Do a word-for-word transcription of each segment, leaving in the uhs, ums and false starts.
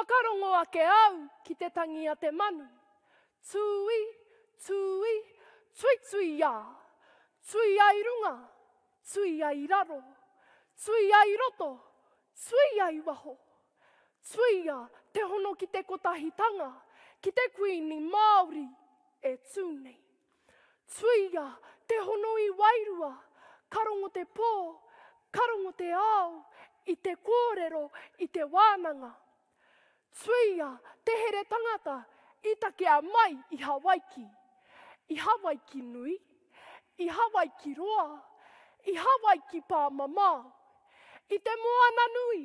Whakarongo ake au ki te tangi a te manu. Tūī, tūī, tuituiā. Tuia i runga, tuia i raro. Tuia i roto, tuia i waho. Tuia te hono ki te kotahitanga, ki te Kuini Māori e tū nei. Tuia te hono i wairua, ka rongo te pō, ka rongo te ao, i te kōrero, i te wānanga. Tuia te here tangata i takea mai i Hawaiki. I Hawaiki nui, i Hawaiki roa, i Hawaiki pāmamao. I te moana nui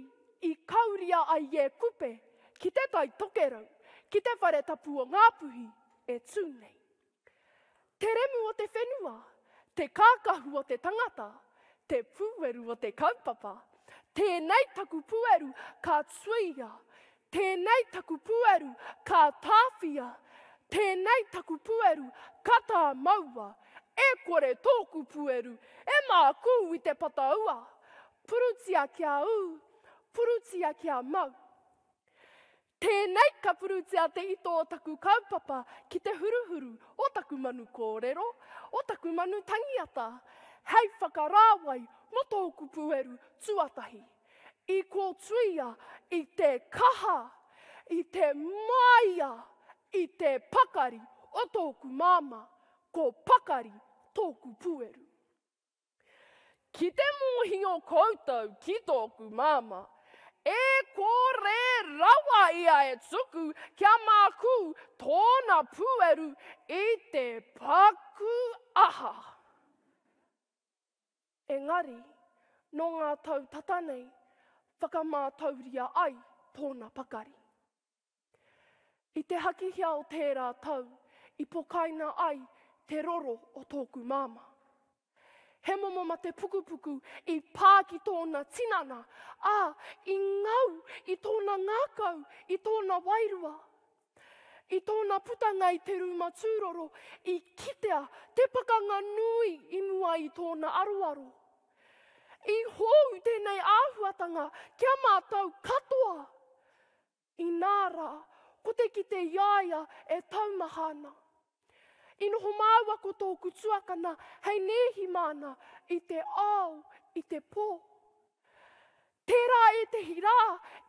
i kauria ai e Kupe ki te Tai Tokerau, ki te whare tapu o Ngāpuhi e tū nei. Te remu o te whenua, te kākahu o te tangata, te pūeru o te kaupapa. Tēnei taku pūeru ka tuia, tēnei taku pūeru ka tāwhia, tēnei taku pūeru ka tāmaua. E kore tōku pūeru e mākū i te pataua. Purutia kia ū, purutia kia mau. Tēnei ka purutia te ito o taku kaupapa ki te huruhuru o taku manu kōrero, o taku manu tangiata, hei whakarāwai mō tōku pūeru tuatahi. I kōtuia i te kaha, i te māia, i te pakari o tōku māmā, ko pakari tōku pūeru. Ki te mōhio koutou ki tōku māmā, e kore rawa ia e tuku kia mākū tōna pūeru i te paku aha. Engari, nō ngā tau tata nei, whakamātauria ai tōna pakari. I te hakihea o tērā tau, i pokaina ai te roro o tōku māmā. He momo mate pukupuku i pā ki tōna tinana, ā, i ngau i tōna ngākau, i tōna wairua. I tōna putanga i te rūma tūroro, i kitea te pakanga nui i mua i tōna aroaro. I hou tēnei āhuatanga ki a mātou katoa. Inā rā, ko te kite i a ia e taumaha ana. I noho māua ko tōku tuakana hei nēhi māna i te ao, i te pō. Tērā ētehi rā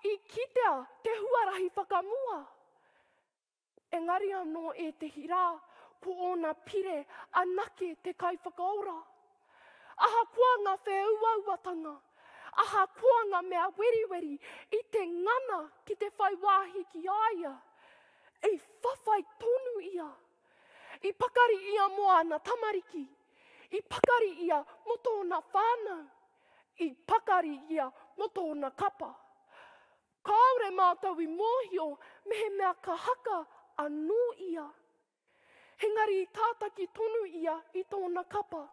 i kitea te huarahi whakamua. Engari anō ētehi rā, ko ōna pire anake te kaiwhakaora. Ahakoa ngā whēuauatanga, ahakoa ngā mea weriweri i te ngana ki te whai wāhi ki a ia, i whawhai tonu ia. I pakari ia mō āna tamariki, i pakari ia mō tōna whānau, i pakari ia mō tōna kapa. Kāore mātou i mōhio mehemea ka haka anō ia. Engari i tātaki tonu ia i tōna kapa.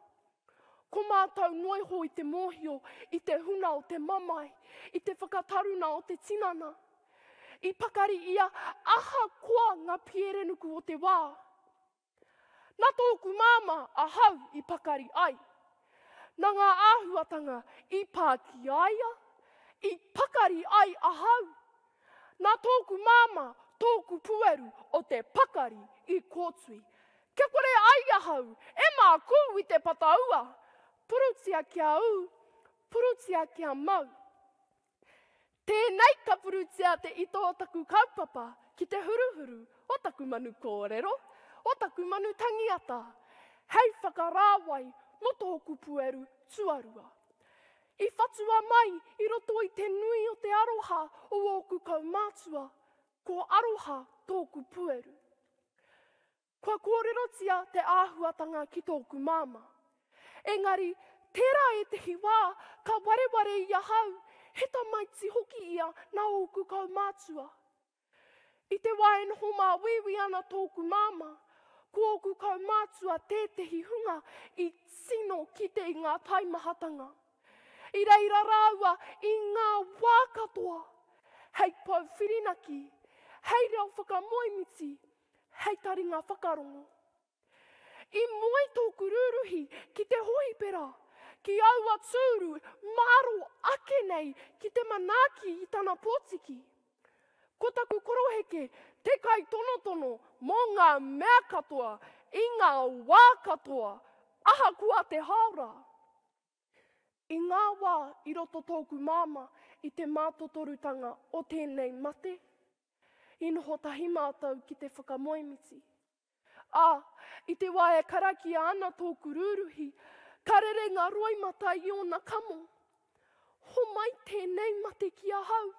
Ko mātou noiho i te mōhio i te huna o te mamae, i te whakataruna o te tinana. I pakari ia ahakoa ngā pierenuku o te wā. Nā tōku māmā ahau i pakari ai. Nā ngā āhuatanga i pā ki a ia, i pakari ai ahau. Nā tōku māmā tōku pūeru o te pakari i kōtui. Kia kore ai ahau e mākū i te pataua. Purutia kia ū, purutia kia mau. Tēnei ka purutia te ito o taku kaupapa ki te huruhuru o taku manu kōrero, o taku manu tangiata, hei whakarāwai mō tōku pūeru tuarua. I whatua mai i roto i te nui o te aroha o ōku kaumātua, ko aroha tōku pūeru. Kua kōrerotia te āhuatanga ki tōku māmā. Engari, tērā ētehi wā ka wareware i ahau, he tamaiti hoki ia nā ōku kaumātua. I te wā e noho māuiui ana tōku māmā, ko ōku kaumātua tētehi hunga i tino kite i ngā taimahatanga. I reira rāua i ngā wā katoa, hei pou whirinaki, hei reo whakamoemiti, hei taringa whakarongo. I moe tōku rūruhi ki te hohipera, ki aua tūru mārō ake nei ki te manaaki i tana pōtiki. Ko taku koroheke te kaitonotono mō ngā mea katoa, i ngā wā katoa, ahakoa te hāora. I ngā wā i roto tōku māmā i te mātotorutanga o tēnei mate, i noho tahi mātou ki te whakamoemiti. Ā, i te wā e karakia ana tōku rūruhi, ka rere ngā roimata i ōna kamo. Homai tēnei mate ki ahau.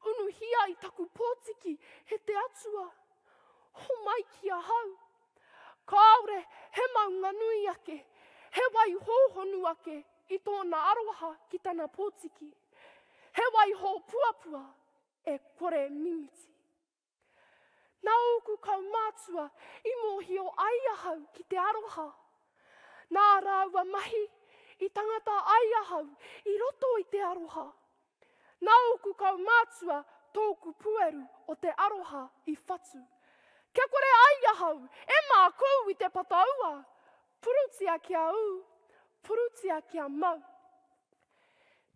Unuhia i taku pōtiki e te Atua. Homai ki ahau. Kāore he maunga nui ake, he wai hōhonu ake i tōna aroha ki tana pōtiki. He wai hōpuapua e kore mimiti. Nā ōku kaumātua i mōhio ai ahau ki te aroha. Nā rāua mahi i tangata ai ahau i roto i te aroha. Nā ōku kaumātua tōku pueru o te aroha i whatu. Kia kore ai ahau e mākū i te pataua. Purutia kia ū, purutia kia mau.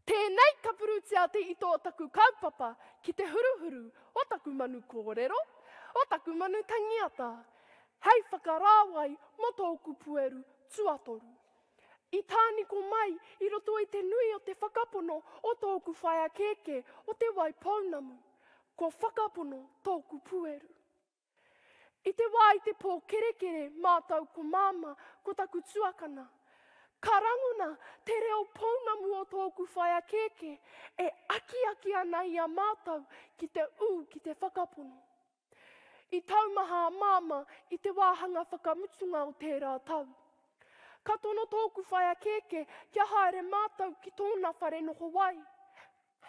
Tēnei ka purutia te ito o taku kaupapa ki te huruhuru o taku manu kōrero, o taku manu tangiata, hei whakarāwai mō tōku pueru tuatoru. I tāniko mai i roto i te nui o te whakapono o tōku whaea kēkē o Te Waipounamu, kua whakapono tōku pueru. I te wā i te pōkerekere mātou ko Māmā, ko taku tuakana, ka rangona te reo pounamu o tōku whaea kēkē e akiaki ana i a mātou ki te ū ki te whakapono. I taumaha a Māmā i te wāhanga whakamutunga o tērā tau. Ka tono tōku whaea kēkē kia haere mātou ki tōna whare noho wai,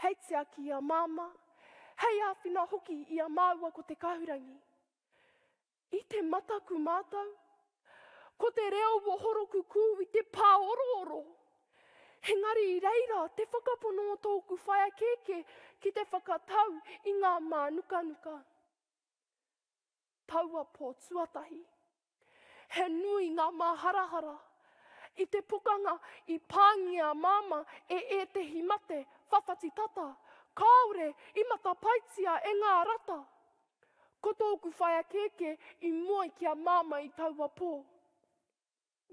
hei tiaki i a Māmā, hei āwhina hoki i a māua ko Te Kahurangi. I te mataku mātou. Ko te reo o Horokukū i te pāorooro. Engari i reira te whakapono o tōku whaea kēkē ki te whakatau i ngā mānukanuka. Taua pō tuatahi. He nui ngā māharahara. I te pokanga i pāngia a Māmā e ētehi mate whawhati tata, kāore i matapaetia e ngā rata. Ko tōku whaea kēkē i moe ki a Māmā i taua pō.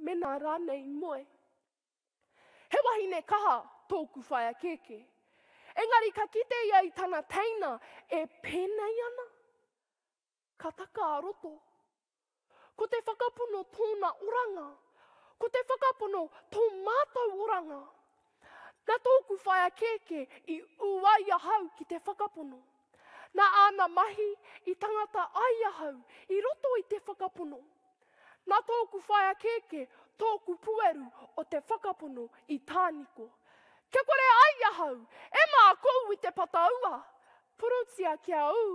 Mēnā rānei i moe. He wahine kaha tōku whaea kēkē. Engari ka kite ia i tana teina e pēnei ana. Ka taka a roto. Ko te whakapono tōna oranga. Ko te whakapono tō mātou oranga. Nā tōku whaea kēkē i ū ai ahau ki te whakapono. Nā āna mahi i tangata ai ahau i roto i te whakapono. Nā tōku whaea kēkē tōku pueru o te whakapono i tāniko. Kia kore ai ahau e mākū i te pataua. Purutia kia ū,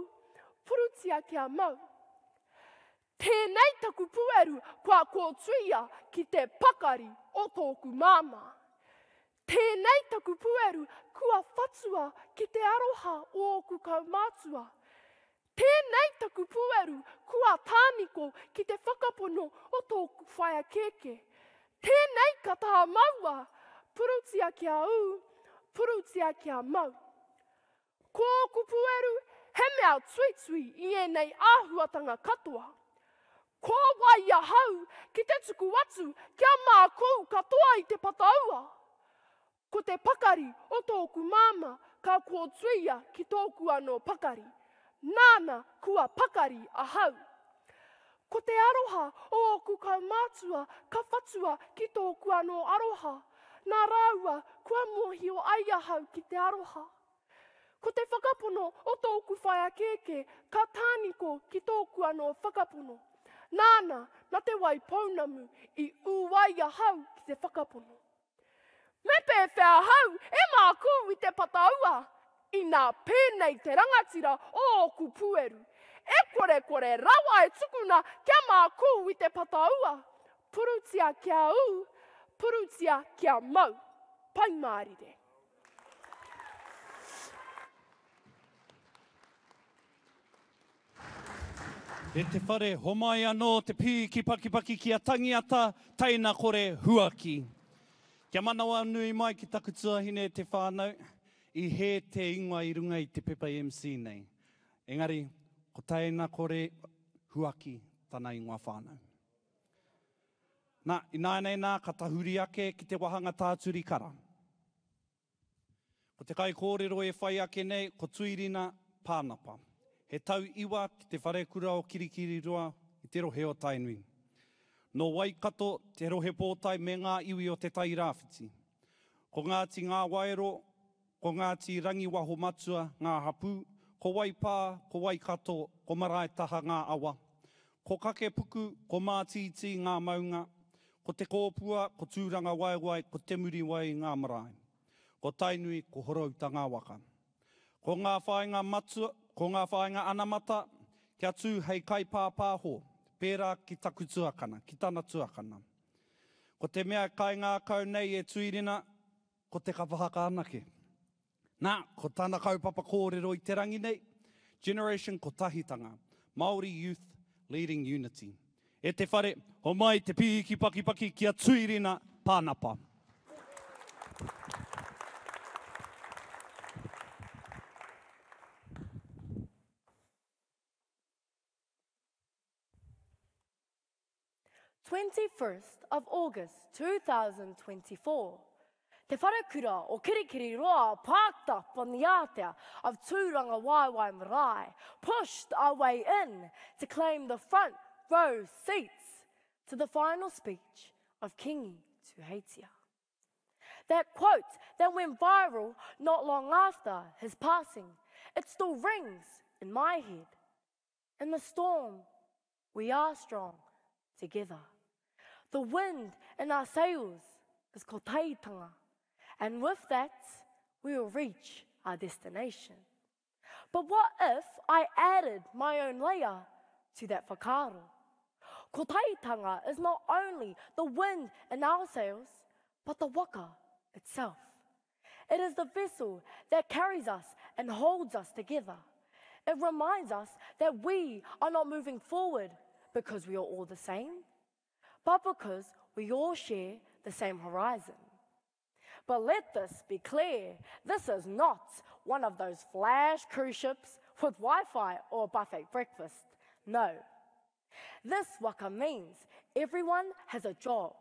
purutia kia mau. Tēnei taku pueru kua kōtuia ki te pakari o tōku māmā. Tēnei taku pueru kua whatua ki te aroha o ōku kaumātua. Tēnei taku pueru kua tāniko ki te whakapono o tōku whaea kēkē. Tēnei ka tāmaua, purutia kia ū, purutia kia mau. Ko ōku pueru he mea tuitui i ēnei āhuatanga katoa. Ko wai ahau ki te tuku atu kia mākū katoa i te pataua? Ko te pakari o tōku māmā ka kōtuia ki tōku anō pakari. Nāna kua pakari ahau. Ko te aroha o ōku kaumātua ka whatua ki tōku anō aroha. Nā rāua kua mōhio ai ahau ki te aroha. Ko te whakapono o tōku whaea kēkē ka tāniko ki tōku anō whakapono. Nāna, nā Te Waipounamu i ū ai ahau ki te whakapono. Me pēwhea ahau e mākū i te pataua? Inā pēnei te rangatira o ōku pueru. E korekore rawa e tukuna kia mākū i te pataua. Purutia kia ū, purutia kia mau. Pai mārire. E te whare, homai anō te pī ki pakipaki ki a Tangiata, teina kore huaki. Kia manawanui mai ki taku tuahine e te whānau, i hē te ingoa i runga i te pepa M C nei. Engari, ko Teina Kore Huaki tana ingoa whānau. Nā, ināianei nā, ka tahuri ake ki te wāhanga tāturi kara. Ko te kaikōrero e whai ake nei, ko Tuirina Pānapa. He tau iwa ki te wharekura o Kirikiriroa i te rohe o Tainui. Nō Waikato, te rohe pōtae me ngā iwi o Te Tairāwhiti. Ko Ngāti Ngāwaero, ko Ngāti Rangiwaho Matua ngā hapū, ko Waipā, ko Waikato, ko Maraetaha ngā awa. Ko Kakepuku, ko Mātītī ngā maunga, ko Te Kōpua, ko Tūrangawaewae, ko Te Muriwai ngā marae. Ko Tainui, ko Horouta ngā waka. Ko ngā whāinga matua, ko ngā whāinga anamata, kia tū hei kaipāpāho, pērā ki taku tuakana, ki tana tuakana. Ko te mea kaingākau nei e Tuirina, ko te kapa haka anake. Nā, ko tana kaupapa kōrero i te rangi nei, Generation Kotahitanga, Māori Youth Leading Unity. E te whare, homai te pīki pakipaki ki a Tuirina Pānapa. twenty-first of August two thousand twenty-four. Te Wharekura o Kirikiriroa parked up on the ātea of Tūrangawaewae Marae, pushed our way in to claim the front row seats to the final speech of Kingi Tuheitia. That quote that went viral not long after his passing, it still rings in my head. In the storm, we are strong together. The wind in our sails is kotahitanga, and with that, we will reach our destination. But what if I added my own layer to that whakaaro? Kotahitanga is not only the wind in our sails, but the waka itself. It is the vessel that carries us and holds us together. It reminds us that we are not moving forward because we are all the same, but because we all share the same horizon. But let this be clear, this is not one of those flash cruise ships with Wi-Fi or buffet breakfast. No. This waka means everyone has a job,